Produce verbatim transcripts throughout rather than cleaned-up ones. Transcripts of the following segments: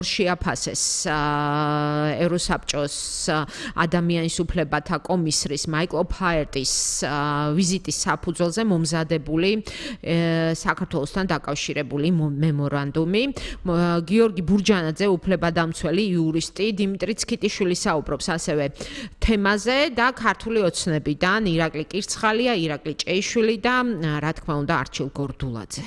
შეაფასეს ევროსაბჭოს ადამიანის უფლებათა კომისრის მაიკლ ოფლაერტის ვიზიტის საფუძველზე მომზადებული საქართველოსთან დაკავშირებული მემორანდუმი. გიორგი ბურჯანაძე, უფლებადამცველი იურისტი, დიმიტრი ცქიტიშვილი საუბრობს ასევე თემაზე და ქართული ოცნებიდან ირაკლი კირცხალია, ირაკლი ჭეიშვილი და რა თქმა უნდა არჩილ გორდულაძე.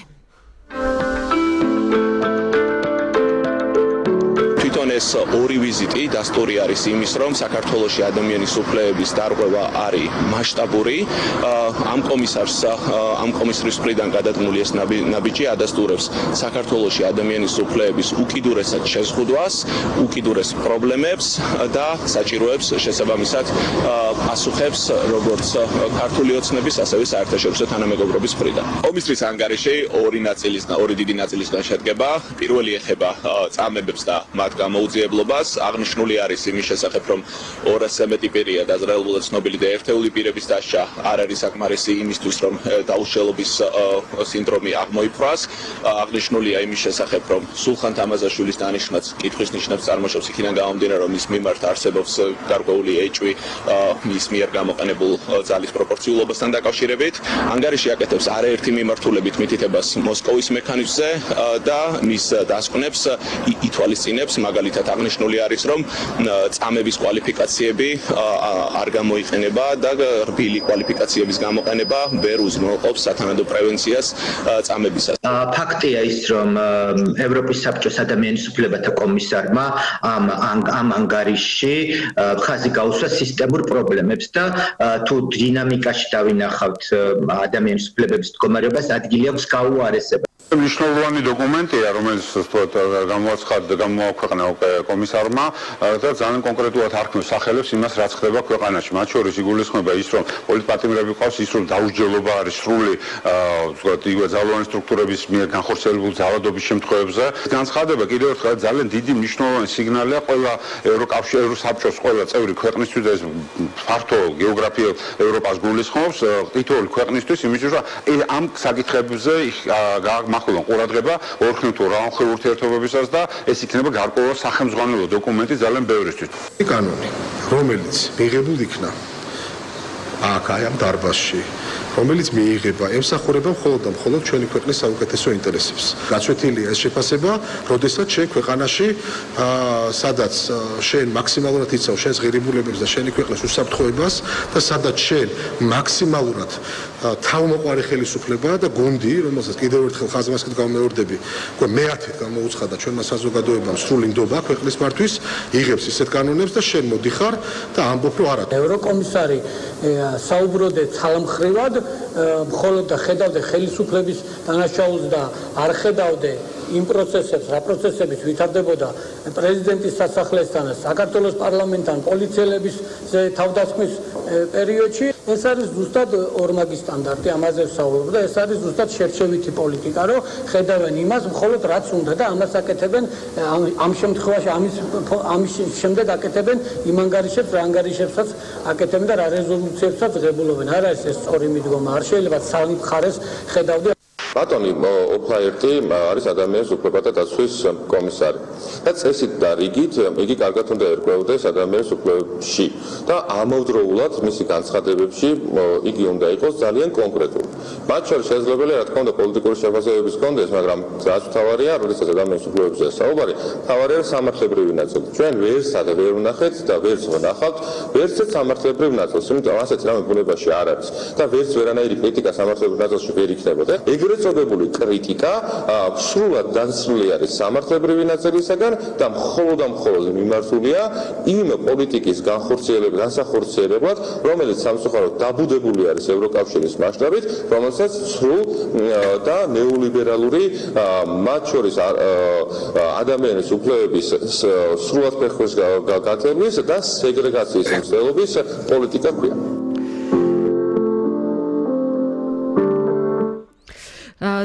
ეს ორი ვიზიტი დასტური არის იმის, რომ საქართველოში ადამიანის უფლებების დარღვევა არის მასშტაბური. ამ კომისარს, ამ კომისრის მხრიდან გადადგმული ეს ნაბიჯი ადასტურებს საქართველოში ადამიანის უფლებების უკიდურესად შეზღუდვას, უკიდურეს პრობლემებს და საჭიროებს შესაბამისად პასუხებს როგორც ქართული ოცნების, ასევე საერთაშორისო თანამეგობრობის მხრიდან. კომისრის ანგარიში ორი ნაწილის, ორი დიდი ნაწილისგან შედგება. პირველი ეხება წამებებს და მათ მოუძიებლობას. აღნიშნული არის იმის შესახებ, რომ ორასზე მეტი პირია დაზრალებული ცნობილი და ერთეული პირების დასჯა არ არის საკმარისი იმისთვის, რომ დაუშალობის სინდრომი აღმოიფრას. აღნიშნულია იმის შესახებ, რომ სულხან თამაზაშვილის დანიშვნაც კითხვის ნიშნებს წარმოშობს იქიდან გამომდინარე, რომ მის მიმართ არსებობს გარკვეული ეჭვი მის მიერ გამოყენებულ ძალის პროპორციულობასთან დაკავშირებით. ანგარიში აკეთებს არაერთი მიმართულებით მითითებას მოსკოვის მექანიზმზე და მის დასკვნებს ითვალისწინებს. მაგალითად აღნიშნული არის, რომ წამების კვალიფიკაციები არ გამოიყენება და რბილი კვალიფიკაციების გამოყენება ვერ უზრუნველყოფს სათანადო პრევენციას წამებისას. ფაქტია ის, რომ ევროპის საბჭოს ადამიანის უფლებათა კომისარმა ამ ამ ანგარიშში ხაზი გაუსვა სისტემურ პრობლემებს და თუ დინამიკაში დავინახავთ ადამიანის უფლებების მდგომარეობას, ადგილი აქვს გაუარესება. მნიშვნელოვანი დოკუმენტია, რომელიც გამოაცხადა გამოაქვეყნა კომისარმა და ძალიან კონკრეტულად არქმევს სახელებს იმას, რაც ხდება ქვეყანაში. მათ შორის იგულისხმება ის, რომ პოლიტპატიმრები ყავს, ის რომ დაუსჯელობა არის სრული იგივე ძალოვანი სტრუქტურების მიერ განხორციელებული ძალადობის შემთხვევებზე. განცხადება კიდევ ერთხელ ძალიან დიდი მნიშვნელოვანი სიგნალია ყველა ევროკავშირის, ევროსაბჭოს ყველა წევრი ქვეყნისთვის და ეს ფართო გეოგრაფიულ ევროპას გულისხმობს თითოეული ქვეყნისთვის, იმისთვის რომ ამ საკითხებზე მახვილონ ყურადღება ორხნით რაუნხელ ურთიერთობებისას და ეს იქნება გარკვეული სახელმძღვანელო დოკუმენტი ძალიან ბევრისთვის. კანონი, რომელიც მიღებულ იქნა აქ აი ამ დარბაზში, რომელიც მიიღება, ემსახურება მხოლოდ და მხოლოდ ჩვენი ქვეყნის საუკეთესო ინტერესებს. გაცვეთილია ეს შეფასება, როდესაც შენ ქვეყანაში, სადაც შენ მაქსიმალურად იცავ შენს ღირებულებებს და შენი ქვეყნის უსაფრთხოებას და სადაც შენ მაქსიმალურად თავმოყარი ხელისუფლებაა და გუნდი, რომელსაც კიდევ ერთხელ ხაზმასკით გამეორდები, უკვე მეათედ გამოუცხადა ჩვენმა საზოგადოებამ სრული ნდობა ქვეყნის მართვის, იღებს ისეთ კანონებს და შენ მოდიხარ და ამბობ რომ არა. ევროკომისარი საუბროდე ცალმხრივად, მხოლოდ და ხედავდე ხელისუფლების დანაშაულს და არ ხედავდე იმ პროცესებს, რა პროცესების ვითარდებოდა პრეზიდენტის სასახლესთან, საქართველოს პარლამენტთან, პოლიციელების თავდასხმის პერიოდში, ეს არის ზუსტად ორმაგი სტანდარტი, ამაზე ვსაუბრობ და ეს არის ზუსტად შერჩევითი პოლიტიკა, რომ ხედავენ იმას, მხოლოდ რაც უნდა და ამას აკეთებენ ამ შემთხვევაში, ამის ამის შემდეგ აკეთებენ იმ ანგარიშებს, რა ანგარიშებსაც აკეთებენ და რა რეზოლუციებსაც ღებულობენ. არ არის ეს სწორი მიდგომა, არ შეიძლება სამი მხარეს ხედავდე. ბატონი ოფლაერტი არის ადამიანის უფლებათა დაცვის კომისარი და წესით და რიგით იგი კარგად უნდა ერკვეოდეს ადამიანის უფლებებში და ამავდროულად მისი განცხადებებში იგი უნდა იყოს ძალიან კონკრეტული. მათ შორის შესაძლებელია რა თქმა უნდა პოლიტიკური შეფასებების კონდეს, მაგრამ რაც მთავარია, როდესაც ადამიანის უფლებებზე საუბარი, მთავარია სამართლებრივი ნაწილი. ჩვენ ვერსად ვერ ვნახეთ და ვერც ვნახავთ ვერცეთ სამართლებრივ ნაწილს, იმიტომ ასეთ რამე ბუნებაში არ არის და ვერც ვერანაირი კრიტიკა სამართლებრივ ნაწილში ვერ იქნებოდა. ეგრეთ წოდებული კრიტიკა სრულად დასრული არის სამართლებრივი ნაწილისაგან და მხოლოდ და მხოლოდ მიმართულია იმ პოლიტიკის განხორციელებლად, განსახორციელებლად, რომელიც სამწუხაროდ დაბუდებული არის ევროკავშირის მასშტაბით, რომელსაც სრულ და ნეოლიბერალური მათ შორის ადამიანის უფლებების სრულად ფეხვის გათევლის და სეგრეგაციის მცდელობის პოლიტიკა ქვია.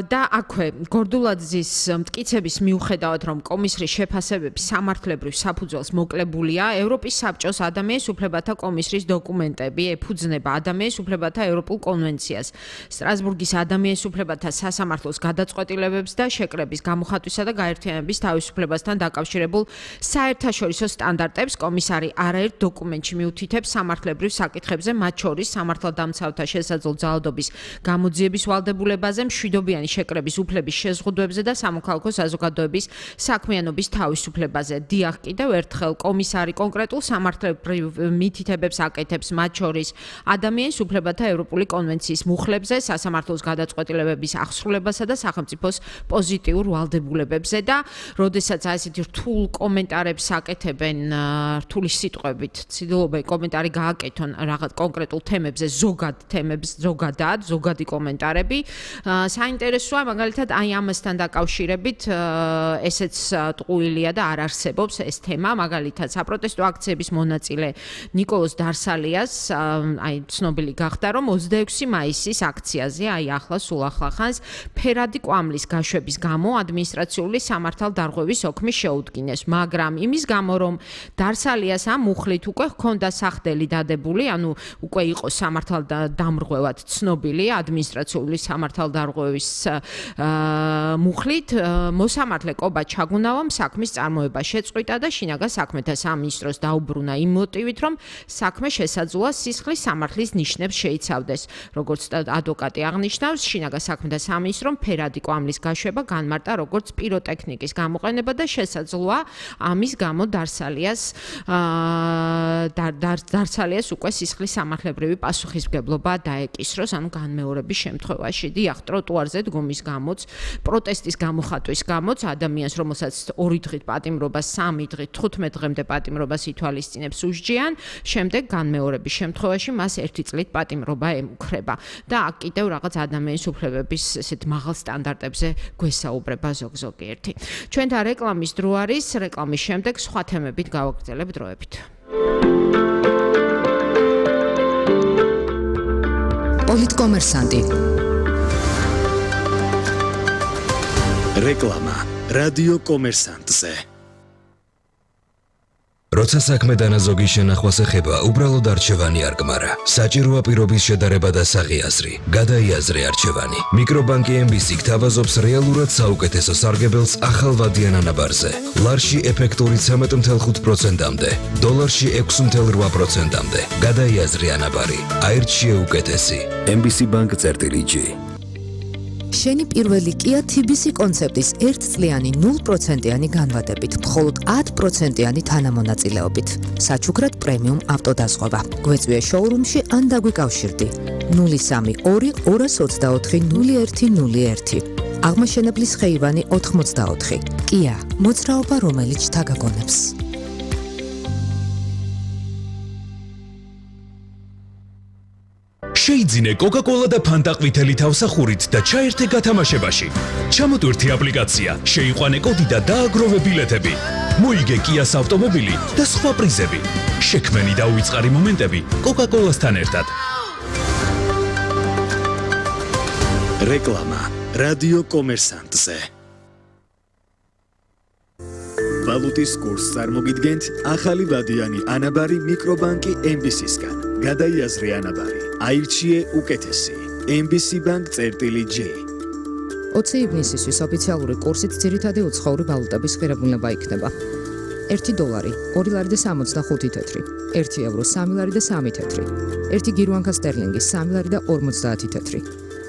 და აქვე გორდულაძის მტკიცების მიუხედავად რომ კომისრის შეფასებები სამართლებრივ საფუძველს მოკლებულია ევროპის საბჭოს ადამიანის უფლებათა კომისრის დოკუმენტები ეფუძნება ადამიანის უფლებათა ევროპულ კონვენციას სტრასბურგის ადამიანის უფლებათა სასამართლოს გადაწყვეტილებებს და შეკრების გამოხატვისა და გაერთიანების თავისუფლებასთან დაკავშირებულ საერთაშორისო სტანდარტებს კომისარი არაერთ დოკუმენტში მიუთითებს სამართლებრივ საკითხებზე მათ შორის სამართალდამცავთა შესაძლო ძალადობის გამოძიების ვალდებულებაზე მშვიდობიანი შეკრების უფლების შეზღუდვებზე და სამოქალაქო საზოგადოების საქმიანობის თავისუფლებაზე. დიახ, კიდევ ერთხელ კომისარი კონკრეტულ სამართლებრივ მითითებებს აკეთებს მათ შორის ადამიანის უფლებათა ევროპული კონვენციის მუხლებზე, სასამართლოს გადაწყვეტილებების აღსრულებასა და სახელმწიფოს პოზიტიურ ვალდებულებებზე და როდესაც ასეთი რთულ კომენტარებს აკეთებენ რთული სიტყვებით, ცდილობენ კომენტარი გააკეთონ რაღაც კონკრეტულ თემებზე, ზოგად თემებს, ზოგადად, ზოგადი კომენტარები. საინტერესოა მაგალითად აი ამასთან დაკავშირებით ესეც ტყუილია და არ არსებობს ეს თემა, მაგალითად საპროტესტო აქციების მონაწილე ნიკოლოზ დარსალიას აი ცნობილი გახდა რომ ოცდაექვსი მაისის აქციაზე აი ახლა სულ ახლახანს ფერადი კვამლის გაშვების გამო ადმინისტრაციული სამართალდარღვევის ოქმი შეუდგინეს, მაგრამ იმის გამო რომ დარსალიას ამ მუხლით უკვე ჰქონდა სახდელი დადებული, ანუ უკვე იყო სამართალდამრღვევად ცნობილი ადმინისტრაციული სამართალდარღვევის მუხლით მოსამართლე კობა ჩაგუნავამ საქმის წარმოება შეწყვიტა და შინაგან საქმეთა სამინისტროს დაუბრუნა იმ მოტივით, რომ საქმე შესაძლოა სისხლის სამართლის ნიშნებს შეიცავდეს. როგორც ადვოკატი აღნიშნავს, შინაგან საქმეთა სამინისტრომ ფერადი კვამლის გაშვება განმარტა როგორც პიროტექნიკის გამოყენება და შესაძლოა ამის გამო დარსალიას დარსალიას უკვე სისხლის სამართლებრივი პასუხისმგებლობა დაეკისროს, ანუ განმეორების შემთხვევაში. დიახ, ტროტუარზე დგომის გამოც, პროტესტის გამოხატვის გამოც ადამიანს, რომელსაც ორი დღით პატიმრობა, სამი დღით, თხუთმეტ დღემდე პატიმრობას ითვალისწინებს უსჯიან, შემდეგ განმეორების შემთხვევაში მას ერთი წლით პატიმრობა ემუქრება. და აქ კიდევ რაღაც ადამიანის უფლებების ესეთ მაღალ სტანდარტებზე გვესაუბრება ზოგ-ზოგიერთი. ჩვენთან რეკლამის დრო არის, რეკლამის შემდეგ სხვა თემებით გავაგრძელებთ დროებით. პოლიტკომერსანტი. რეკლამა რადიო კომერსანტზე. როცა საქმე დანაზოგის შენახვას ეხება, უბრალოდ არჩევანი არ გმარა. საჭიროა პირობის შედარება და საღიაზრი. გადაიაზრე არჩევანი. მიკრობანკი ემ ბი სი გთავაზობს რეალურად საუკეთესო სარგებელს ახალვადიან ანაბარზე. ლარში ეფექტური ცამეტ ათი პროცენტამდე, დოლარში ექვსი ათი რვა პროცენტამდე. გადაიაზრე ანაბარი. აირჩიე უკეთესი. ემ ბი სი Bank წერტილი ჯი. შენი პირველი Kia თი ბი სი კონცეპტის ერთწლიანი ნულ პროცენტიანი განვადებით, მხოლოდ ათი პროცენტიანი თანამონაწილეობით. საჩუქრად პრემიუმ ავტოდაზღვევა. გვეწვიე შოურუმში ან დაგვიკავშირდი. ნული სამი ორი ორას ოცდაოთხი ნული ერთი ნული ერთი. აღმაშენებლის ხეივანი ოთხმოცდაოთხი. Kia, მოძრაობა რომელიც თაგაგონებს. შეიძინე კოკა-კოლა და ფანტა ყვითელი თავსახურით და ჩაერთე გათამაშებაში. ჩამოტვირთი აპლიკაცია, შეიყვანე კოდი და დააგროვე ბილეთები. მოიგე Kia-ს ავტომობილი და სხვა პრიზები. შექმენი და უიწყარი მომენტები კოკა-კოლასთან ერთად. რეკლამა რადიო კომერსანტზე. ვალუტის კურსს წარმოგიდგენთ ახალი ვადიანი ანაბარი მიკრობანკი ემ ბი სისგან. გადაიაზრე ანაბარი. აირჩიე უკეთესი. ემ ბი სი Bank წერტილი ჯი. ოცი ივნისისთვის ოფიციალური კურსით ძირითადი უცხოური ვალუტების ღირებულება იქნება. ერთი დოლარი, ორი ლარი და სამოცდახუთი თეთრი, ერთი ევრო, სამი ლარი და სამი თეთრი, ერთი გირვანკა სტერლინგი, სამი ლარი და ორმოცდაათი თეთრი,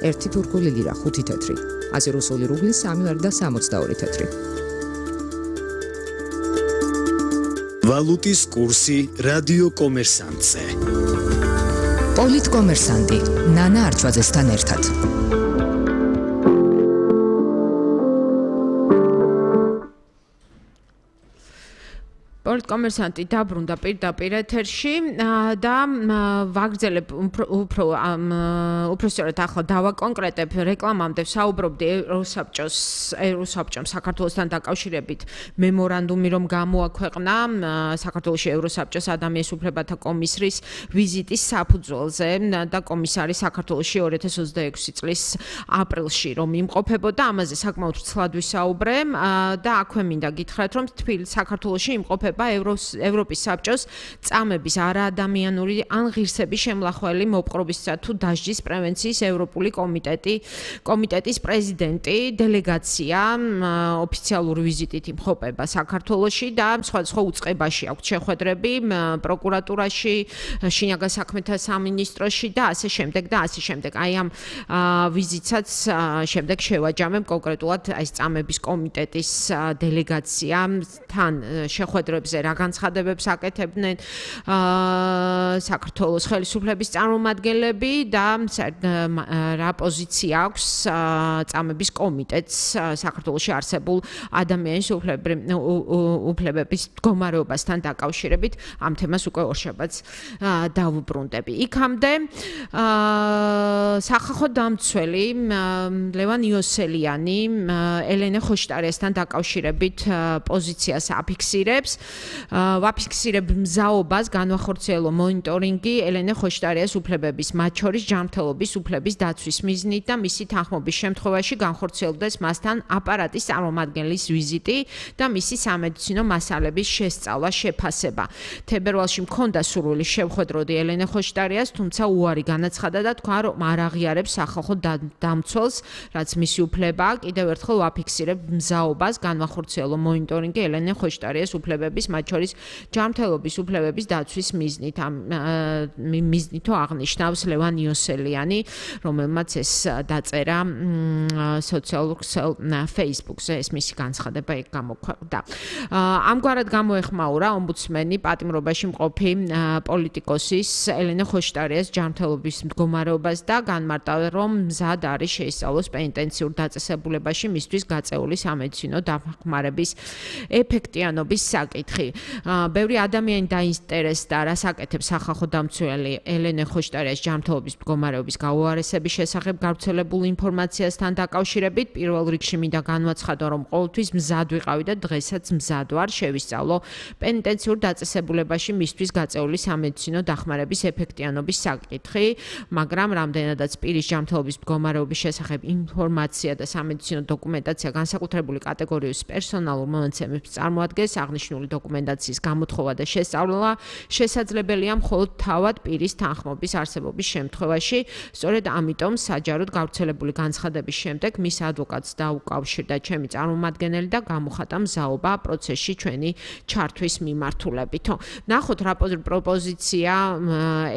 ერთი თურქული ლირა, ხუთი თეთრი, ასე რუსული რუბლი, სამი ლარი და სამოცდაორი თეთრი. ვალუტის კურსი რადიო კომერსანტზე. პოლიტკომერსანტი ნანა არჩვაძესთან ერთად. პოლიტკომერსანტი დაბრუნდა პირდაპირ ეთერში და ვაგრძელებ უფრო უფრო სწორად ახლა დავაკონკრეტებ რეკლამამდე საუბრობდი ევროსაბჭოს ევროსაბჭომ საქართველოსთან დაკავშირებით მემორანდუმი რომ გამოაქვეყნა საქართველოში ევროსაბჭოს ადამიანის უფლებათა კომისრის ვიზიტის საფუძველზე და კომისარი საქართველოში ორი ათას ოცდაექვსი წლის აპრილში რომ იმყოფებოდა ამაზე საკმაოდ ცლად ვისაუბრე და აქვე მინდა გითხრათ რომ თბილისში საქართველოში იმყოფება ევროპის საბჭოს წამების არაადამიანური ან ღირსების შემლახველი მოპყრობისა თუ დასჯის პრევენციის ევროპული კომიტეტი კომიტეტის პრეზიდენტი დელეგაცია ოფიციალური ვიზიტით იმყოფება საქართველოში და სხვადასხვა უწყებაში აქვს შეხვედრები პროკურატურაში, შინაგან საქმეთა სამინისტროში და ასე შემდეგ და ასე შემდეგ. აი ამ ვიზიტსაც შემდეგ შევაჯამებ კონკრეტულად ეს წამების კომიტეტის დელეგაციასთან შეხვედრები რა განცხადებებს აკეთებდნენ საქართველოს ხელისუფლების წარმომადგენლები და რა პოზიცია აქვს წამების კომიტეტს საქართველოში არსებულ ადამიანის უფლებების მდგომარეობასთან დაკავშირებით ამ თემას უკვე ორშაბათს დავუბრუნდები. იქამდე სახალხო დამცველი ლევან იოსელიანი ელენე ხოშტარიასთან დაკავშირებით პოზიციას აფიქსირებს. ვაფიქსირებ მზაობას განვახორციელო მონიტორინგი ელენე ხოშტარიას უფლებების, მათ შორის ჯანმრთელობის უფლების დაცვის მიზნით და მისი თანხმობის შემთხვევაში განხორციელდეს მასთან აპარატის წარმომადგენლის ვიზიტი და მისი სამედიცინო მასალების შესწავლა, შეფასება. თებერვალში მქონდა სურვილი შევხვედროდი ელენე ხოშტარიას, თუმცა უარი განაცხადა და თქვა, რომ არ აღიარებს სახალხო დამცველს, რაც მისი უფლებაა. კიდევ ერთხელ ვაფიქსირებ მზაობას განვახორციელო მონიტორინგი ელენე ხოშტარიას უფლებების, მათ შორის ჯანმრთელობის უფლებების დაცვის მიზნით. ამ მიზნითო აღნიშნავს ლევან იოსელიანი, რომელმაც ეს დაწერა სოციალურ ქსელ Facebook-ზე, ეს მისი განცხადება იქ გამოქვეყნდა. ამგვარად გამოეხმაურა ომბუდსმენი პატიმრობაში მყოფი პოლიტიკოსის ელენე ხოშტარიას ჯანმრთელობის მდგომარეობას და განმარტა, რომ მზად არის შეისწავლოს პენიტენციურ დაწესებულებაში მისთვის გაწეული სამედიცინო დახმარების ეფექტიანობის საკითხი. ბევრი ადამიანი დაინტერესდა, რას აკეთებს სახალხო დამცველი ელენე ხოშტარიას ჯანმრთელობის მდგომარეობის გაუარესების შესახებ გავრცელებულ ინფორმაციასთან დაკავშირებით. პირველ რიგში მინდა განვაცხადო, რომ ყოველთვის მზად ვიყავი და დღესაც მზად ვარ შევისწავლო პენიტენციურ დაწესებულებაში მისთვის გაწეული სამედიცინო დახმარების ეფექტიანობის საკითხი, მაგრამ რამდენადაც პირის ჯანმრთელობის მდგომარეობის შესახებ ინფორმაცია და სამედიცინო დოკუმენტაცია განსაკუთრებული კატეგორიის პერსონალურ მონაცემებს წარმოადგენს, აღნიშნული დოკუმენტაციის გამოთხოვა და შესწავლა შესაძლებელია მხოლოდ თავად პირის თანხმობის არსებობის შემთხვევაში. სწორედ ამიტომ საჯაროდ გავრცელებული განცხადების შემდეგ მის ადვოკატს დაუკავშირდა ჩემი წარმომადგენელი და გამოხატა მზაობა პროცესში ჩვენი ჩართვის მიმართულებით. ნახოთ რა პროპოზიცია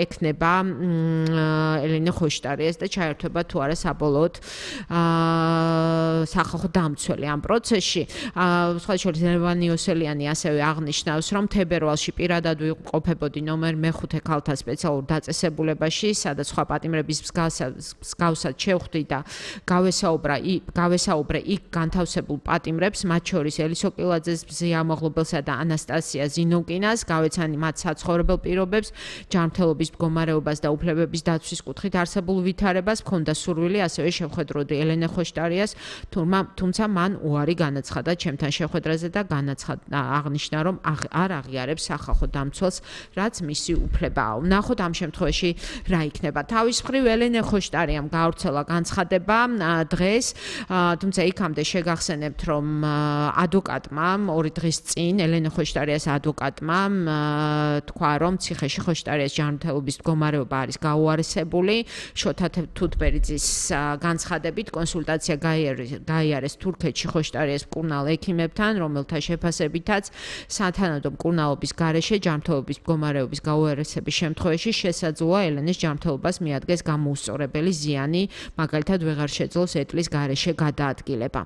ექნება ელენე ხოშტარიას და ჩაერთვება თუ არა საბოლოოდ სახალხო დამცველი ამ პროცესში. სხვა შორის ლევან იოსელიანი ასევე აღნიშნავს, რომ თებერვალში პირადად ვიმყოფებოდი ნომერ მეხუთე ქალთა სპეციალურ დაწესებულებაში, სადაც სხვა პატიმრების მსგავსად შევხვდი და გავესაუბრა გავესაუბრე იქ განთავსებულ პატიმრებს, მათ შორის ელისო კილაძეს, ბზია მოღლობელსა და ანასტასია ზინოკინას, გავეცანი მათ საცხოვრებელ პირობებს, ჯანმრთელობის მდგომარეობას და უფლებების დაცვის კუთხით არსებულ ვითარებას, ჰქონდა სურვილი ასევე შევხვედროდი ელენე ხოშტარიას, თუმცა მან უარი განაცხადა ჩემთან შეხვედრაზე და განაცხადა აღნიშნა, რომ არ აღიარებს სახალხო დამცველს, რაც მისი უფლებაა. ვნახოთ ამ შემთხვევაში რა იქნება. თავის მხრივ ელენე ხოშტარიამ გაავრცელა განცხადება დღეს, თუმცა იქამდე შეგახსენებთ, რომ ადვოკატმა ორი დღის წინ ელენე ხოშტარიას ადვოკატმა თქვა, რომ ციხეში ხოშტარიას ჯანმრთელობის მდგომარეობა არის გაუარესებული. შოთა თუთბერიძის განცხადებით კონსულტაცია გაიარეს თურქეთში ხოშტარიას მკურნალ ექიმებთან, რომელთა შეფასებითაც სათანადო მკურნალობის გარეშე ჯანმრთელობის მდგომარეობის გაუარესების შემთხვევაში შესაძლოა ელენეს ჯანმრთელობას მიადგეს გამოუსწორებელი ზიანი, მაგალითად ვეღარ შეძლოს ეტლის გარეშე გადაადგილება.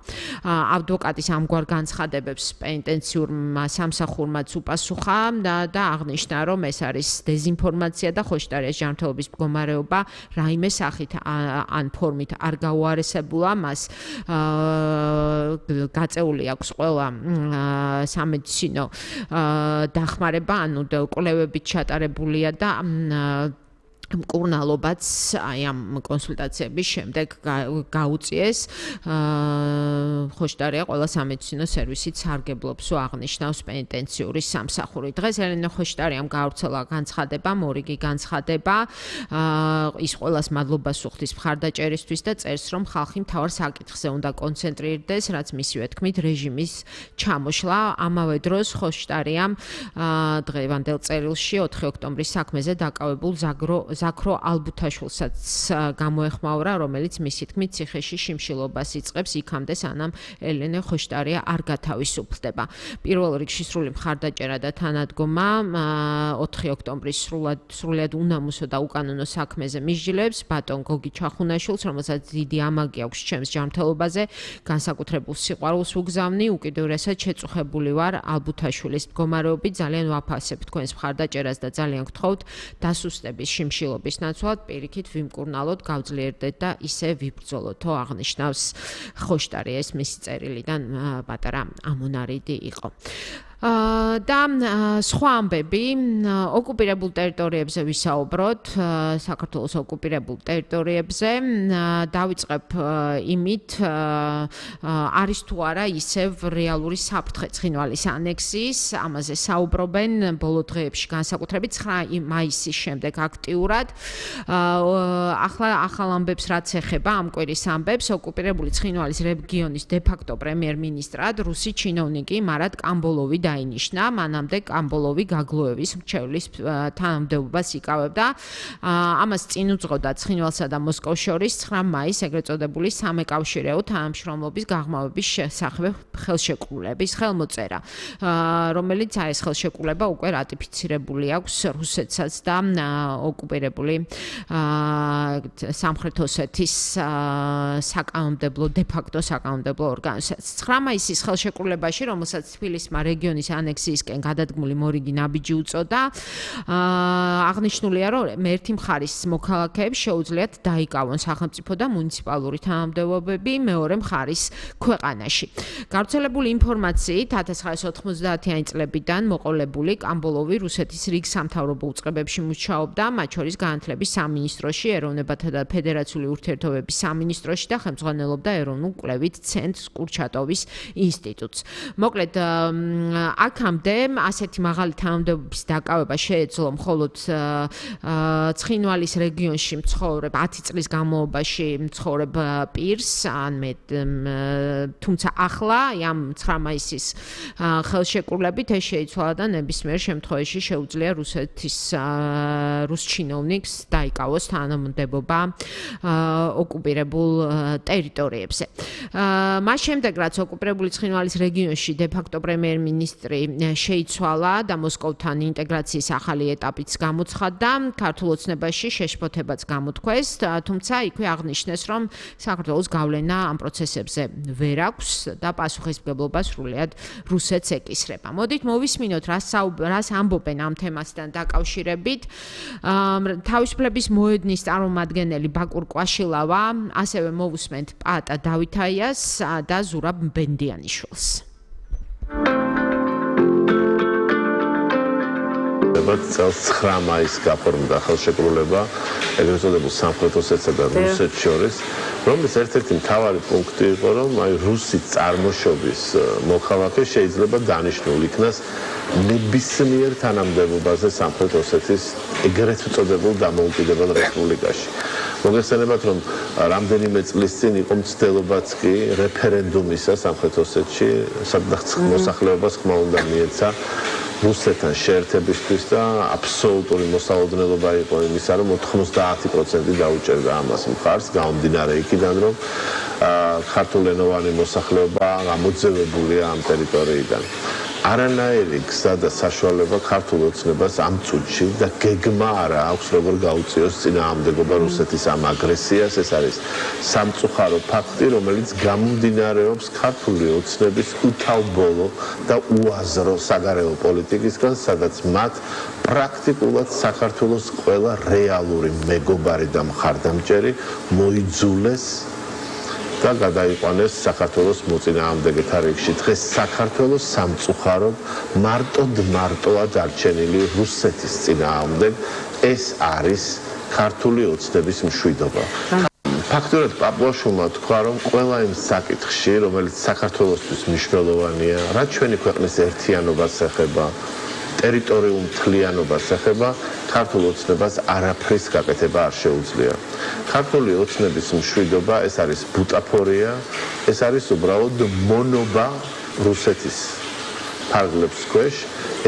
ადვოკატის ამგვარ განცხადებებს პენიტენციურმა სამსახურმაც უპასუხა და აღნიშნა, რომ ეს არის დეზინფორმაცია და ხოშტარიას ჯანმრთელობის მდგომარეობა რაიმე სახით ან ფორმით არ გაუარესებულა, მას გაწეული აქვს ყველა სამედიცინო დახმარება, ანუ კვლევებით ჩატარებულია და მკურნალობაც აი ამ კონსულტაციების შემდეგ გაუწიეს. ხოშტარია ყველა სამედიცინო სერვისით სარგებლობს ու აღნიშნავს პენიტენციური სამსახური. დღეს ელენე ხოშტარიამ გავრცელა განცხადება, მორიგი განცხადება. ის ყველას მადლობას უხდის მხარდაჭერისთვის და წერს, რომ ხალხი მთავარ საკითხზე უნდა კონცენტრირდეს, რაც მისივე თქმით რეჟიმის ჩამოშლა. ამავე დროს ხოშტარიამ დღევანდელ წერილში ოთხი ოქტომბრის საქმეზე დაკავებულ ზაგრო ზაქრო ალბუთაშვილსაც გამოეხმაურა, რომელიც მისი თქმით ციხეში შიმშილობას იწყებს იქამდე, სანამ ელენე ხოშტარია არ გათავისუფლდება. პირველ რიგში სრული მხარდაჭერა და თანადგომა ოთხი ოქტომბრის სრულად სრულად უნამუსო და უკანონო საქმეზე მისჯილებს ბატონ გოგი ჩახუნაშვილს, რომელსაც დიდი ამაგი აქვს ჩემს ჯანმრთელობაზე, განსაკუთრებულ სიყვარულს უგზავნი, უკიდურესად შეწუხებული ვარ ალბუთაშვილის მდგომარეობით, ძალიან ვაფასებ თქვენს მხარდაჭერას და ძალიან გთხოვთ დასუსტების შიმშილ ობის ნაცვლად პირიქით ვიმკურნალოთ, გავძლიერდეთ და ისე ვიბრძოლოთო, აღნიშნავს ხოშტარია. ეს მისი წერილიდან პატარა ამონარიდი იყო. და სხვა ამბები ოკუპირებულ ტერიტორიებზე ვისაუბროთ, საქართველოს ოკუპირებულ ტერიტორიებზე დავიწყებ იმით, არის თუ არა ისევ რეალური საფრთხე ცხინვალის ანექსიის, ამაზე საუბრობენ ბოლო დღეებში განსაკუთრებით ცხრა მაისის შემდეგ აქტიურად. ახლა ახალ ამბებს რაც ეხება ამ კვირის ამბებს, ოკუპირებული ცხინვალის რეგიონის დე-ფაქტო პრემიერ-მინისტრად რუსი ჩინოვნიკი მარად კამბოლოვი დაინიშნა, მანამდე კამბოლოვი გაგლოევის მრჩევლის თანამდებობას იკავებდა. ამას წინ უძღოდა ცხინვალსა და მოსკოვს შორის ცხრა მაისს ეგრეთ წოდებული სამეკავშირეო თანამშრომლობის გაღრმავების შესახებ ხელშეკრულების ხელმოწერა, რომელიც აი ეს ხელშეკრულება უკვე რატიფიცირებული აქვს რუსეთსაც და ოკუპირებული სამხრეთ ოსეთის საკანონმდებლო დე-ფაქტო საკანონმდებლო ორგანოსაც. ცხრა მაისის ხელშეკრულებაში, რომელსაც თბილისმა რეგიონის ანექსიისკენ გადადგმული მორიგი ნაბიჯი უწოდა, აღნიშნულია, რომ ერთი მხარის მოქალაქეებს შეუძლიათ დაიკავონ სახელმწიფო და მუნიციპალური თანამდებობები მეორე მხარის ქვეყანაში. გავრცელებული ინფორმაციით ათას ცხრაასი ოთხმოცდაათიანი წლებიდან მოყოლებული კამბოლოვი რუსეთის რიგ სამთავრობო უწყებებში მუშაობდა, მათ შორის განათლების სამინისტროში, ეროვნებათა და ფედერაციული ურთიერთობების სამინისტროში და ხელმძღვანელობდა ეროვნულ კვლევით ცენტრს კურჩატოვის ინსტიტუტს. მოკლედ აქამდე ასეთი მაღალი თანამდებობის დაკავება შეეძლო მხოლოდ ცხინვალის რეგიონში მცხოვრებ ათი წლის განმავლობაში მცხოვრებ პირს, ან მე თუმცა ახლა ამ ცხრა მაისის ხელშეკრულებით ეს შეიცვალა და ნებისმიერ შემთხვევაში შეუძლია რუსეთის რუს ჩინოვნიკს დაიკავოს თანამდებობა ოკუპირებულ ტერიტორიებზე. მას შემდეგ რაც ოკუპირებული ცხინვალის რეგიონში დე-ფაქტო პრემიერ-მინისტრი შეიცვალა და მოსკოვთან ინტეგრაციის ახალი ეტაპიც გამოცხადდა, ქართულ ოცნებაში შეშფოთებაც გამოთქვეს, თუმცა იქვე აღნიშნეს, რომ საქართველოს გავლენა ამ პროცესებზე ვერ აქვს და პასუხისმგებლობა სრულიად რუსეთს ეკისრება. მოდით მოვისმინოთ, რას ამბობენ ამ თემასთან დაკავშირებით. თავისუფლების მოედნის წარმომადგენელი ბაკურ კვაშილავა, ასევე მოვუსმენთ პაატა დავითაიას და ზურაბ ბენდიანიშვილს. წელს ცხრა მაისს გაფორმდა ხელშეკრულება ეგრეთ წოდებულ სამხრეთ ოსეთსა და რუსეთს შორის, რომლის ერთ-ერთი მთავარი პუნქტი იყო, რომ აი რუსი წარმოშობის მოქალაქე შეიძლება დანიშნულ იქნას ნებისმიერ თანამდებობაზე სამხრეთ ოსეთის ეგრეთ წოდებულ დამოუკიდებელ რესპუბლიკაში. მოგეხსენებათ, რომ რამდენიმე წლის წინ იყო მცდელობაც კი რეფერენდუმისა სამხრეთ ოსეთში, სადაც მოსახლეობას ხმა უნდა მიეცა რუსეთთან შეერთებისთვის და აბსოლუტური მოსალოდნელობა იყო იმისა, რომ ოთხმოცდაათი პროცენტი დაუჭერდა ამას მხარს, გამომდინარე იქიდან, რომ ქართულენოვანი მოსახლეობა გამოძევებულია ამ ტერიტორიიდან. არანაირი გზა და საშუალება ქართულ ოცნებას ამ წუთში და გეგმა არა აქვს, როგორ გაუწიოს წინააღმდეგობა რუსეთის ამ აგრესიას. ეს არის სამწუხარო ფაქტი, რომელიც გამომდინარეობს ქართული ოცნების უთავბოლო და უაზრო საგარეო პოლიტიკისგან, სადაც მათ პრაქტიკულად საქართველოს ყველა რეალური მეგობარი და მხარდამჭერი მოიძულეს და გადაიყვანეს საქართველოს მოწინააღმდეგეთა რიგში. დღეს საქართველოს სამწუხაროდ მარტოდ მარტოა დარჩენილი რუსეთის წინააღმდეგ. ეს არის ქართული ოცნების მშვიდობა. ფაქტურად პაპუაშვილმა თქვა, რომ ყველა იმ საკითხში, რომელიც საქართველოსთვის მნიშვნელოვანია, რაც ჩვენი ქვეყნის ერთიანობას ეხება, ტერიტორიულ მთლიანობას ეხება, ქართულ ოცნებას არაფრის გაკეთება არ შეუძლია. ქართული ოცნების მშვიდობა ეს არის ბუტაფორია, ეს არის უბრალოდ მონობა რუსეთის ფარგლებს ქვეშ,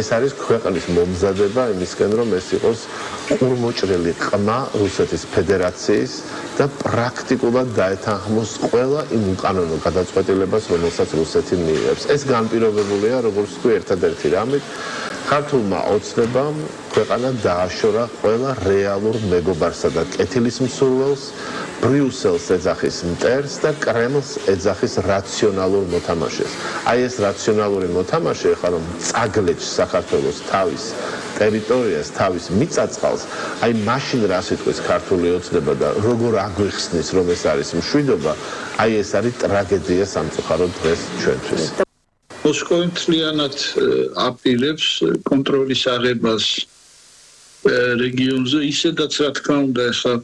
ეს არის ქვეყნის მომზადება იმისკენ, რომ ეს იყოს ყურმოჭრილი ყმა რუსეთის ფედერაციის და პრაქტიკულად დაეთანხმოს ყველა იმ უკანონო გადაწყვეტილებას, რომელსაც რუსეთი მიიღებს. ეს განპირობებულია, როგორც თქვი, ერთადერთი რამით, ქართულმა ოცნებამ ქვეყანა დააშორა ყველა რეალურ მეგობარსა და კეთილის მსურველს, ბრიუსელს ეძახის მტერს და კრემლს ეძახის რაციონალურ მოთამაშეს. აი ეს რაციონალური მოთამაშე ახლა რომ წაგლეჭს საქართველოს თავის ტერიტორიას, თავის მიწა-წყალს, აი მაშინ რა სიტყვის ქართული ოცნება და როგორ აგვიხსნის, რომ ეს არის მშვიდობა, აი ეს არის ტრაგედია სამწუხაროდ დღეს ჩვენთვის. მოსკოვი მთლიანად აპირებს კონტროლის აღებას რეგიონზე, ისედაც რა თქმა უნდა ახლა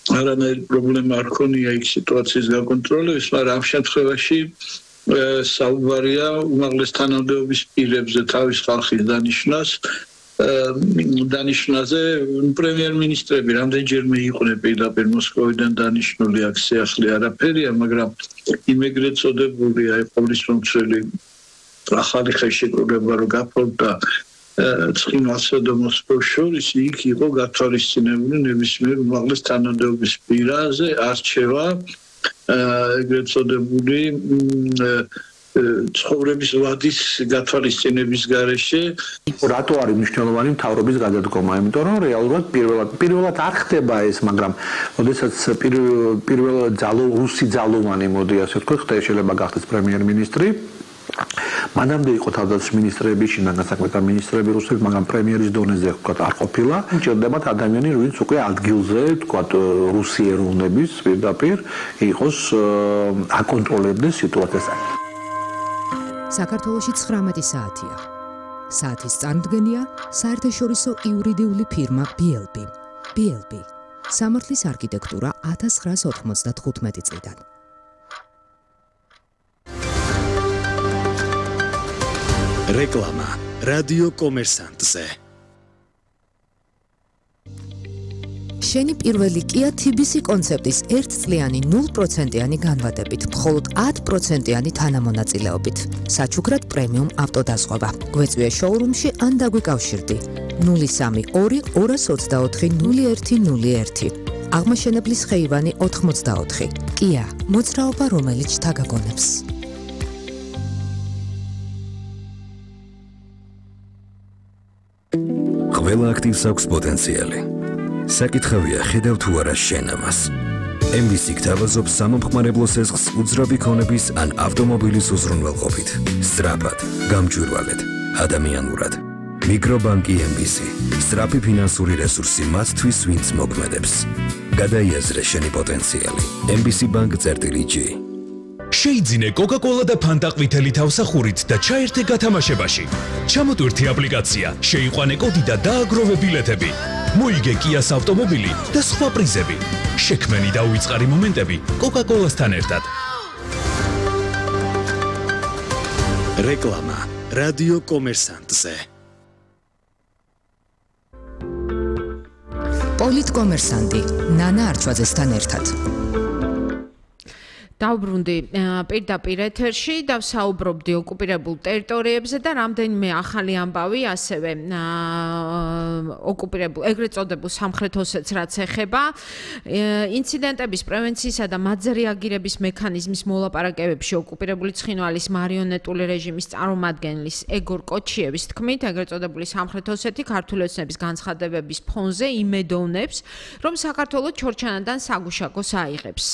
არანაირი პრობლემა არ ქონია იქ სიტუაციის გაკონტროლების, მაგრამ ამ შემთხვევაში საუბარია უმაღლეს თანამდებობის პირებზე თავის ხალხის დანიშვნას დანიშნაზე პრემიერ-მინისტრები რამდენჯერმე იყვნენ პირდაპირ მოსკოვიდან დანიშნული, აქ სიახლე არაფერია, მაგრამ იმ ეგრეთ წოდებული აი ყოვლისმომცველი ახალი ხელშეკრულება რო გაფორმდა ცხინვალსა და მოსკოვს შორის, იქ იყო გათვალისწინებული ნებისმიერ უმაღლეს თანამდებობის პირაზე არჩევა ეგრეთ წოდებული ცხოვრების ვადის გათვალისწინების გარეშე. რატო არის მნიშვნელოვანი მთავრობის გადადგომა? იმიტომ რომ რეალურად პირველად პირველად არ ხდება ეს, მაგრამ ოდესაც პირველად ძალო რუსი ძალოვანი მოდი ასე ვთქვი, ხდება შეიძლება გახდეს პრემიერ-მინისტრი. მანამდე იყო თავდაცვის მინისტრები, შინაგან საქმეთა მინისტრები რუსეთს, მაგრამ პრემიერის დონეზე ვთქვათ არ ყოფილა. ჭირდებათ ადამიანი, ვინც უკვე ადგილზე, ვთქვათ, რუსი ეროვნების პირდაპირ იყოს აკონტროლებდეს სიტუაციას. საქართველოში ცხრამეტი საათია. საათის წარმოდგენია საერთაშორისო იურიდიული ფირმა ბი ელ ბი. ბი ელ ბი სამართლის არქიტექტურა ათას ცხრაას ოთხმოცდათხუთმეტი წლიდან. რეკლამა რადიო კომერსანტზე. შენი პირველი Kia თი ბი სი კონცეპტის ერთწლიანი ნულ პროცენტიანი განვადებით, მხოლოდ ათი პროცენტიანი თანამონაწილეობით. საჩუქრად პრემიუმ ავტოდაზღვევა. გვეწვია შოურუმში ან დაგვიკავშირდი. ნული სამი ორი ორას ოცდაოთხი ნული ერთი ნული ერთი. აღმაშენებლის ხეივანი ოთხმოცდაოთხი. Kia, მოძრაობა რომელიც შთაგაგონებს. ყველა აქტივს აქვს პოტენციალი. საკითხავია ხედავ თუ არა შენ ამას. em vê c გთავაზობს სამომხმარებლო სესხს უძრავი ქონების ან ავტომობილის უზრუნველყოფით. სწრაფად, გამჭვირვალედ, ადამიანურად. მიკრობანკი em vê c. სწრაფი ფინანსური რესურსი მათთვის, ვინც მოქმედებს. გადაიაზრე შენი პოტენციალი. em vê c bank.g. შეიძინე კოკა-კოლა და ფანტა ყვითელი თავსახურით და ჩაერთე გათამაშებაში. ჩამოტვირთი აპლიკაცია, შეიყვანე კოდი და დააგროვე ბილეთები. მოიგე Kia-ს ავტომობილი და სხვა პრიზები. შექმენი და უიწყარი მომენტები კოკა-კოლასთან ერთად. რეკლამა რადიო კომერსანტზე. პოლიტკომერსანტი ნანა არჩვაძესთან ერთად. დავბრუნდი პირდაპირ ეთერში და ვსაუბრობდი ოკუპირებულ ტერიტორიებზე და რამდენიმე ახალი ამბავი ასევე ოკუპირებულ ეგრეთ წოდებულ სამხრეთ ოსეთს რაც ეხება ინციდენტების პრევენციისა და მათზე რეაგირების მექანიზმის მოლაპარაკებებში ოკუპირებული ცხინვალის მარიონეტული რეჟიმის წარმომადგენლის ეგორ კოჩიევის თქმით ეგრეთ წოდებული სამხრეთ ოსეთი ქართული ოცნების განცხადებების ფონზე იმედოვნებს რომ საქართველოს ჩორჩანადან საგუშაგოს აიღებს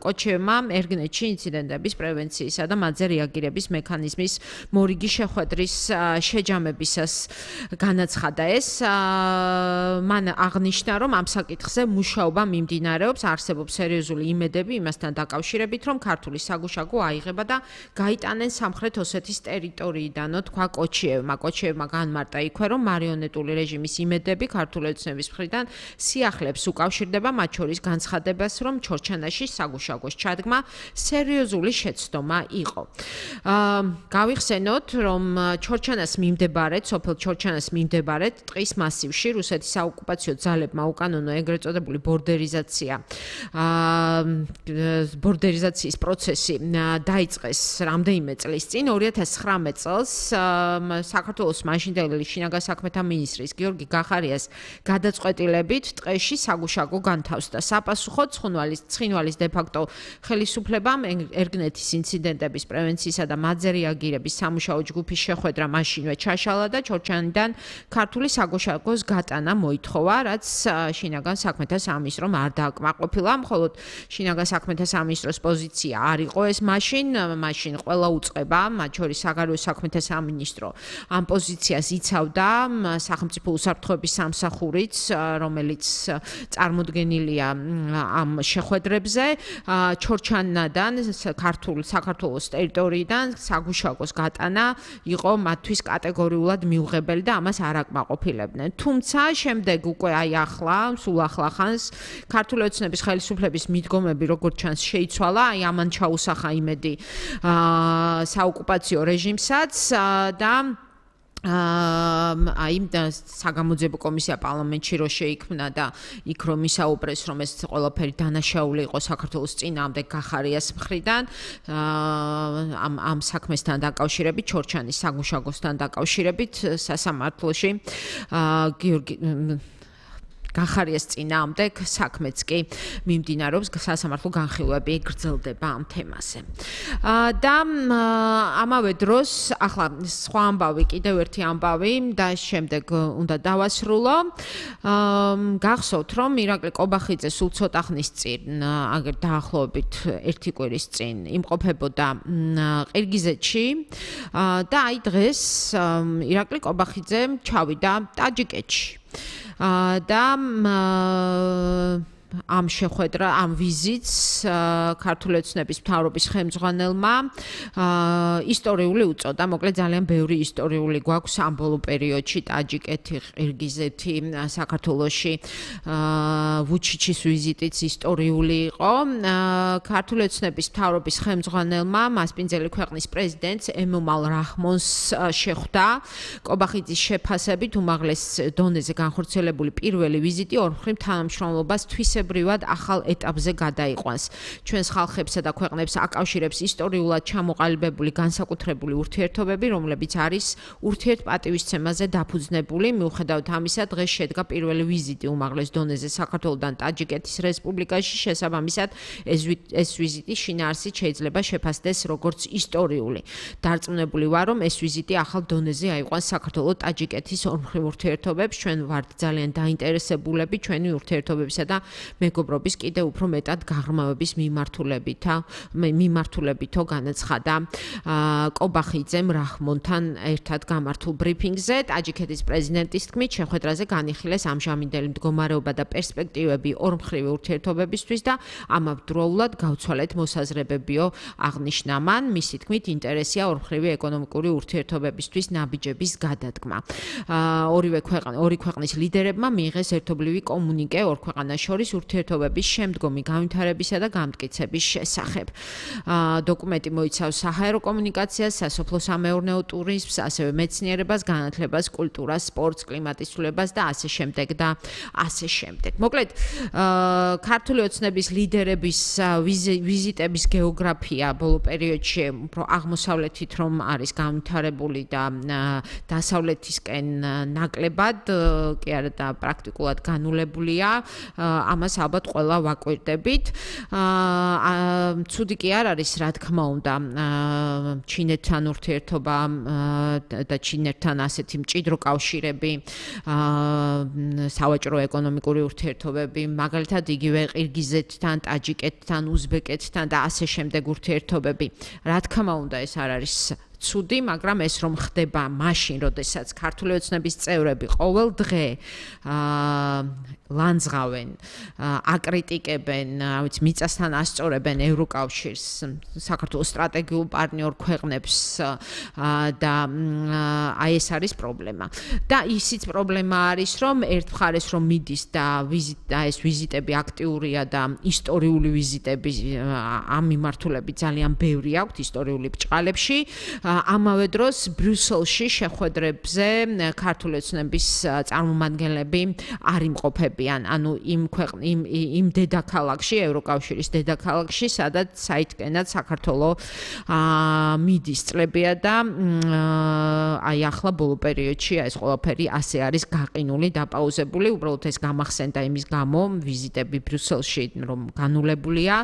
კოჩიევმა ერგნეთში ინციდენტების პრევენციისა და მათზე რეაგირების მექანიზმის მორიგი შეხვედრის შეჯამებისას განაცხადა ეს. მან აღნიშნა, რომ ამ საკითხზე მუშაობა მიმდინარეობს, არსებობს სერიოზული იმედები იმასთან დაკავშირებით, რომ ქართული საგუშაგო აიღება და გაიტანენ სამხრეთ ოსეთის ტერიტორიიდანო, თქვა კოჩიევმა. კოჩიევმა განმარტა იქვე, რომ მარიონეტული რეჟიმის იმედები ქართული ოცნების მხრიდან სიახლეებს უკავშირდება, მათ შორის განცხადებას, რომ ჩორჩანაში საგუშაგოს ჩადგმა სერიოზული შეცდომა იყო. გავიხსენოთ, რომ ჩორჩანას მიმდებარედ, სოფელ ჩორჩანას მიმდებარედ ტყის მასივში რუსეთის საოკუპაციო ძალებმა უკანონო ეგრეთ წოდებული ბორდერიზაცია ბორდერიზაციის პროცესი დაიწყეს რამდენიმე წლის წინ, ორი ათას ცხრამეტ წელს საქართველოს მაშინდელი შინაგან საქმეთა მინისტრის გიორგი გახარიას გადაწყვეტილებით ტყეში საგუშაგო განთავსდა. საპასუხოდ ცხინვალის ცხინვალის დე-ფაქტო ხელისუფლებამ ერგნეთის ინციდენტების პრევენციისა და მათზე რეაგირების სამუშაო ჯგუფის შეხვედრა მაშინვე ჩაშალა და ჩორჩანიდან ქართული საგუშაგოს გატანა მოითხოვა, რაც შინაგან საქმეთა სამინისტრომ არ დააკმაყოფილა, მხოლოდ შინაგან საქმეთა სამინისტროს პოზიცია არ იყო ეს მაშინ, მაშინ ყველა უწყება, მათ შორის საგარეო საქმეთა სამინისტრო ამ პოზიციას იცავდა სახელმწიფო უსაფრთხოების სამსახურიც, რომელიც წარმოდგენილია ამ შეხვედრებზე. ჩორჩანიდან ქართულ საქართველოს ტერიტორიიდან საგუშაგოს გატანა იყო მათთვის კატეგორიულად მიუღებელი და ამას არ აკმაყოფილებდნენ. თუმცა შემდეგ უკვე აი ახლა, სულ ახლა ხანს ქართული ოცნების ხელისუფლების მიდგომები როგორც ჩანს შეიცვალა, აი ამან ჩაუსახა იმედი საოკუპაციო რეჟიმსაც და აი საგამოძიებო კომისია პარლამენტში რო შეიქმნა და იქ რომ ისაუბრეს, რომ ეს ყველაფერი დანაშაული იყო საქართველოს წინააღმდეგ გახარიას მხრიდან ამ ამ საქმესთან დაკავშირებით, ჩორჩანის საგუშაგოსთან დაკავშირებით სასამართლოში გიორგი გახარიას წინააღმდეგ საქმეც კი მიმდინარეობს, სასამართლო განხილვები გრძელდება ამ თემაზე. და ამავე დროს ახლა სხვა ამბავი, კიდევ ერთი ამბავი და შემდეგ უნდა დავასრულო. გახსოვთ, რომ ირაკლი კობახიძე სულ ცოტა ხნის წინ, აგერ დაახლოებით ერთი კვირის წინ იმყოფებოდა ყირგიზეთში და აი დღეს ირაკლი კობახიძე ჩავიდა ტაჯიკეთში. და ამ შეხვედრა, ამ ვიზიტს ქართული ოცნების მთავრობის ხელმძღვანელმა ისტორიული უწოდა. მოკლედ ძალიან ბევრი ისტორიული გვაქვს ამ ბოლო პერიოდში ტაჯიკეთი, ყირგიზეთი, საქართველოში ვუჩიჩის ვიზიტიც ისტორიული იყო. ქართული ოცნების მთავრობის ხელმძღვანელმა მასპინძელი ქვეყნის პრეზიდენტს ემომალ რაჰმონს შეხვდა. კობახიძის შეფასებით უმაღლეს დონეზე განხორციელებული პირველი ვიზიტი ორმხრივ თანამშრომლობას თვისებრივად ახალ ეტაპზე გადაიყვანს. ჩვენს ხალხებსა და ქვეყნებს აკავშირებს ისტორიულად ჩამოყალიბებული განსაკუთრებული ურთიერთობები, რომლებიც არის ურთიერთპატივისცემაზე დაფუძნებული. მიუხედავად ამისა, დღეს შედგა პირველი ვიზიტი უმაღლეს დონეზე საქართველოდან ტაჯიკეთის რესპუბლიკაში. შესაბამისად, ეს ვიზიტი შინაარსით შეიძლება შეფასდეს როგორც ისტორიული. დარწმუნებული ვარ, რომ ეს ვიზიტი ახალ დონეზე აიყვანს საქართველო-ტაჯიკეთის ორმხრივ ურთიერთობებს. ჩვენ ვართ ძალიან დაინტერესებულები ჩვენი ურთიერთობებისა და მეგობრობის კიდევ უფრო მეტად გაღრმავების მიმართულებითა მიმართულებითო განაცხადა კობახიძემ რაჰმონთან ერთად გამართულ ბრიფინგზე. ტაჯიკეთის პრეზიდენტის თქმით, შეხვედრაზე განიხილეს ამჟამინდელი მდგომარეობა და პერსპექტივები ორმხრივი ურთიერთობებისთვის და ამავდროულად გავცვალეთ მოსაზრებებიო აღნიშნა მან. მისი თქმით, ინტერესია ორმხრივი ეკონომიკური ურთიერთობებისთვის ნაბიჯების გადადგმა. ორივე ქვეყანა ორი ქვეყნის ლიდერებმა მიიღეს ერთობლივი კომუნიკე ორ ქვეყანას შორის ურთიერთობების შემდგომი განვითარებისა და გამტკიცების შესახებ. დოკუმენტი მოიცავს საჰაერო კომუნიკაციას, სასოფლო-სამეურნეო ტურიზმს, ასევე მეცნიერებას, განათლებას, კულტურას, სპორტს, კლიმატის ცვლილებას და ასე შემდეგ და ასე შემდეგ. მოკლედ, ქართული ოცნების ლიდერების ვიზიტების გეოგრაფია ბოლო პერიოდში უფრო აღმოსავლეთით რომ არის განვითარებული და დასავლეთისკენ ნაკლებად კი არა და პრაქტიკულად განულებულია. ამას ამას ალბათ ყველა ვაკვირდებით. აა ცუდი კი არ არის, რა თქმა უნდა, ჩინეთთან ურთიერთობა და ჩინეთთან ასეთი მჭიდრო კავშირები, სავაჭრო ეკონომიკური ურთიერთობები, მაგალითად იგივე ყირგიზეთთან, ტაჯიკეთთან, უზბეკეთთან და ასე შემდეგ ურთიერთობები. რა თქმა უნდა, ეს არ არის ცუდი, მაგრამ ეს რომ ხდება მაშინ, როდესაც ქართული ოცნების წევრები ყოველ დღე ლანძღავენ, აკრიტიკებენ, რა ვიცი, მიწასთან ასწორებენ ევროკავშირს, საქართველოს სტრატეგიულ პარტნიორ ქვეყნებს და აი ეს არის პრობლემა. და ისიც პრობლემა არის, რომ ერთ მხარეს რომ მიდის და ვიზიტ ეს ვიზიტები აქტიურია და ისტორიული ვიზიტები ამ მიმართულებით ძალიან ბევრი აქვს ისტორიული ბრჭყალებში. ამავე დროს ბრიუსელში შეხვედრებზე ქართული ოცნების წარმომადგენლები არ იმყოფებიან, ანუ იმ იმ იმ დედაქალაქში, ევროკავშირის დედაქალაქში, სადაც საითკენად საქართველო მიდის წლებია და აი ახლა ბოლო პერიოდში ეს ყველაფერი ასე არის გაყინული, დაპაუზებული, უბრალოდ ეს გამახსენდა იმის გამო ვიზიტები ბრიუსელში, რომ განულებულია,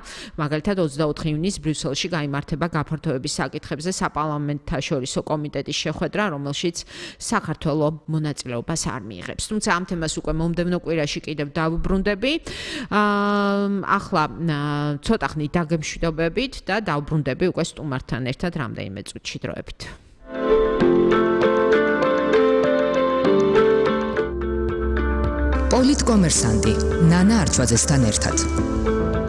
მაგალითად ოცდაოთხი ივნისს ბრიუსელში გაიმართება გაფართოების საკითხებზე საპარლამენტო შორისო კომიტეტის შეხვედრა, რომელშიც საქართველო მონაწილეობას არ მიიღებს. თუმცა ამ თემას უკვე მომდევნო კვირაში კიდევ დავუბრუნდები. ახლა ცოტა ხნით დაგემშვიდობებით და დავუბრუნდები უკვე სტუმართან ერთად რამდენიმე წუთში დროებით. პოლიტკომერსანტი ნანა არჩვაძესთან ერთად.